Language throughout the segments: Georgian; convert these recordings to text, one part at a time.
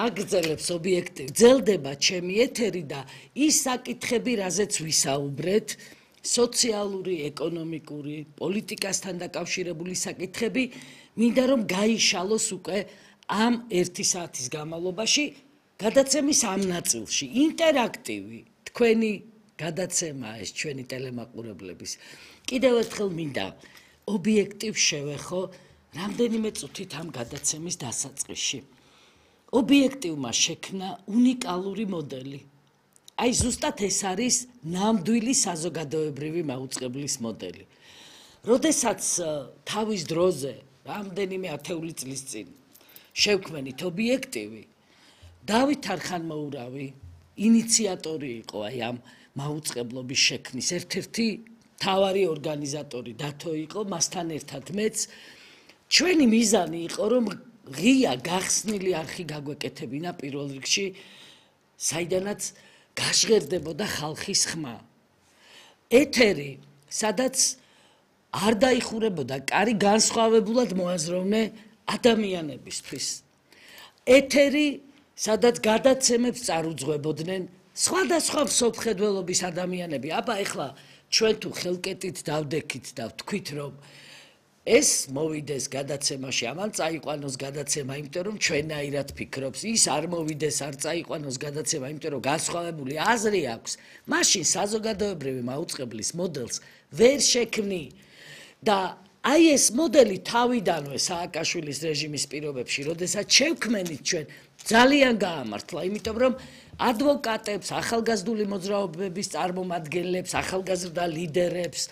აგრძელებს ობიექტივ გრძელდება ჩემი ეთერი და ის საკითხები რაზეც ვისაუბრეთ სოციალური, ეკონომიკური, პოლიტიკასთან დაკავშირებული საკითხები მინდა რომ გაიშალოს უკვე ამ 1 საათის განმავლობაში გადაცემის ამ ნაწილში ინტერაქტივი თქვენი გადაცემაა ეს ჩვენი ტელემაყურებლების კიდევ ერთხელ მინდა ობიექტივ შევეხო რამდენიმე წუთით ამ გადაცემის დასაწყისში ობიექტივმა შექმნა უნიკალური მოდელი აი ზუსტად ეს არის ნამდვილი საზოგადოებრივი მაუწყებლის მოდელი როდესაც თავის დროზე რამდენიმე ათეული წლის წინ შევქმნით ობიექტივი დავით არხანმოურავი ინიციატორი იყო აი ამ მაუწყებლობის შექმნის ერთ-ერთი მთავარი ორგანიზატორი დათო იყო მასთან ერთად მეც ჩვენი მიზანი იყო რომ ღია გახსნილი არხი გაგვეკეთებინა პირველ რიგში საიდანაც გაჟღერდებოდა ხალხის ხმა ეთერი სადაც არ დაიხურებოდა კარი განსხვავებულად მოაზროვნე ადამიანებისთვის ეთერი სადაც გადაცემებს წარუძღვებოდნენ სხვადასხვა მსოფლმხედველობის ადამიანები აბა ეხლა ჩვენ თუ ხელკეტით დავდექით და ვთქვით რომ ეს მოვიდეს გადაცემაში ამან წაიყვანოს გადაცემა იმიტომ რომ ჩვენაირად ფიქრობს ის არ მოვიდეს არ წაიყვანოს გადაცემა იმიტომ რომ განსხვავებული აზრი აქვს მაშინ საზოგადოებრივი მაუწყებლის მოდელს ვერ შექმნი და აი ეს მოდელი თავიდანვე სააკაშვილის რეჟიმის პირობებში როდესაც შევქმნით ჩვენ ძალიან გაამართლა იმიტომ რომ ადვოკატებს ახალგაზრდული მოძრაობების წარმომადგენლებს ახალგაზრდა ლიდერებს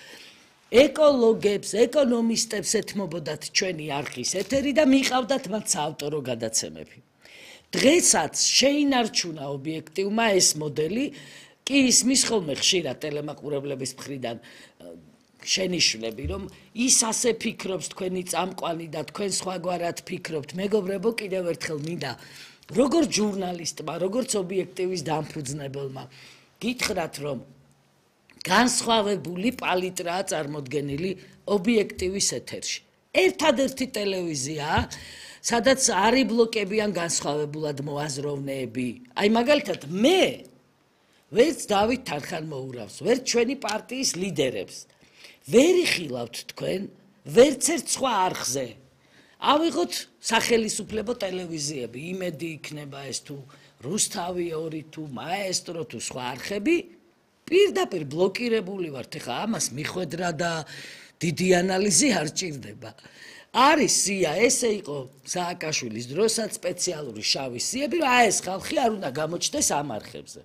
ეკოლოგებს ეკონომისტებს ეთმობოდათ ჩვენი არხის ეთერი და მიყავდათ მათ საავტორო გადაცემები დღესაც შეინარჩუნა ობიექტივმა ეს მოდელი კი ისმის ხოლმე ხშირად ტელემაყურებლების მხრიდან შენიშვნები რომ ის ასე ფიქრობს თქვენი წამყვანი და თქვენ სხვაგვარად ფიქრობთ მეგობრებო კიდევ ერთხელ მინდა როგორც ჟურნალისტმა როგორც ობიექტივის დამფუძნებელმა გითხრათ რომ განსხვავებული პალიტრაა წარმოდგენილი ობიექტივის ეთერში ერთადერთი ტელევიზია სადაც არ იბლოკებიან განსხვავებულად მოაზროვნეები აი მაგალითად მე ვერც დავით არხანმოურავს ვერც ჩვენი პარტიის ლიდერებს ვერ იხილავთ თქვენ ვერც ერთ სხვა არხზე ავიღოთ სახელისუფლებო ტელევიზიები იმედი იქნება ეს თუ რუსთავი 2 თუ მაესტრო თუ სხვა არხები პირდაპირ ბლოკირებული ვართ ეხა ამას მიხვედრა და დიდი ანალიზი არ ჭირდება არის სია ესე იყო სააკაშვილის დროსაც სპეციალური შავი სიები რა ეს ხალხი არ უნდა გამოჩნდეს ამ არხებზე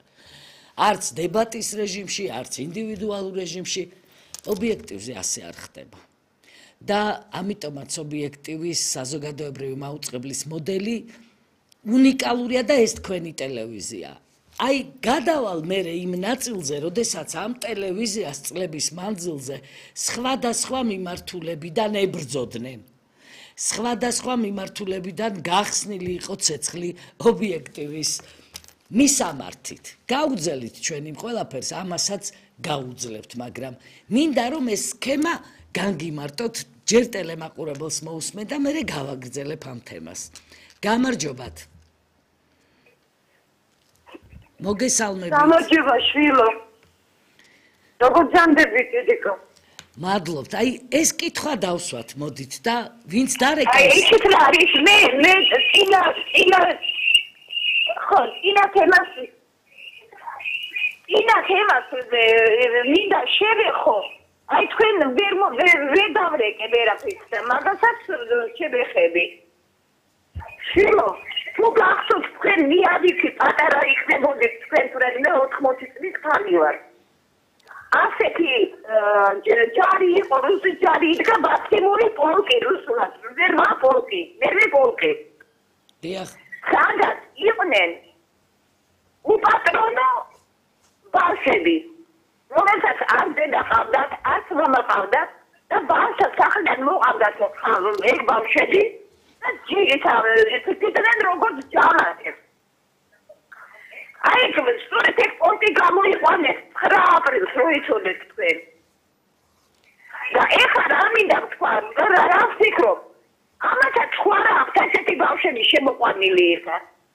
არც დებატის რეჟიმში არც ინდივიდუალურ რეჟიმში ობიექტივზე ასე არ ხდება და ამიტომაც ობიექტივის საზოგადოებრივი მაუწყებლის მოდელი უნიკალურია და ეს თქვენი ტელევიზია აი გადავალ მე იმ ნაწილზე როდესაც ამ ტელევიზიას წლების მანძილზე სხვადასხვა მიმართულებიდან ებრძოდნენ სხვადასხვა მიმართულებიდან გახსნილი იყო ცეცხლი ობიექტივის მისამართით გაუძელით ჩვენ იმ ყველაფერს ამასაც გაუძლებთ მაგრამ მინდა რომ ეს სქემა განგიმარტოთ ჯერ ტელემაყურებელს მოусმე და მე გავაგრძელებ ამ თემას გამარჯობათ მოგესალმებით გამარჯობა შვილო როგორ ჯანდებით დედიკო მადლობთ აი ეს კითხვა დავსვათ მოდით და ვინც დარეკავს აი ისეთ რა არის მე ინა თემას მინდა შევეხო აი თქვენ ვერ დავრეკე ვერაფერს და მაგასაც შევეხები შვილო თუ გახსოვთ თქვენ მიადიქი პატარა იქნებოდით თქვენ თუ რადგან 80 წლის ხანი ვარ ასეთი ჯარი იყო რუსი ჯარი იდგა ბაქიმური პოლკი რუსულად ზერმა პოლკი მერვე პოლკი დიახ სადაც იყვნენ უპატრონო ბავშვები რომელსაც არ დედა ყავდათ არც მამა ყავდათ და ბავშვს სახლიდან მოყავდათ ეგ ბავშვები ჯიგითავენ როგორც ჯამათებს აი სწორედ ეგ პოლკი გამოიყვანეს 9 აპრილს რო იცოდეთ თქვენ და ეხლა რა მინდა თქვა რა ვფიქრობ ამასაც სხვა რა აქვს ასეთი ბავშვები შემოყვანილი ეხლა